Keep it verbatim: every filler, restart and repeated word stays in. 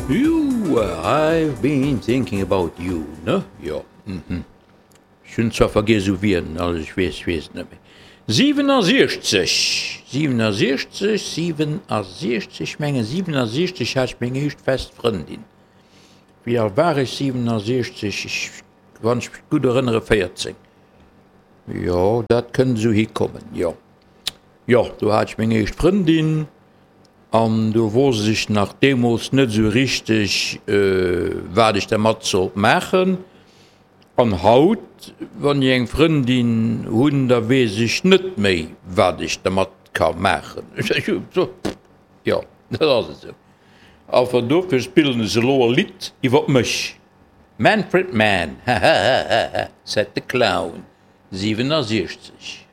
You, I've been thinking about you, ne? Jo, mhm. Ech hunn zwar vergiess u wien, also ech weess, ech weess et net méi. siwenundsechzeg, siwenundsechzeg, siwenundsechzeg, ech mengen siwenundsechzeg hat ech meng éischt fest Frëndin. Wéi al war ech siwenundsechzeg? Ech, wann ech mech gutt erënnere, véierzéng. Jo, dat kënnt esou hikommen, jo. Jo, do hat ech meng éischt Frëndin an do wosst ech nach deemools net esou richteg, wat ech dermat sollt maachen. An haut, wann ech eng Frëndin hunn, da weess ech net méi, wat ech dermat ka maachen. Jo, dat ass esou. Enfin, dofir spillen ech elo e Lidd iwwer mech. Manfred Mann, ha ha ha ha ha, said the clown, siwenundsechzeg.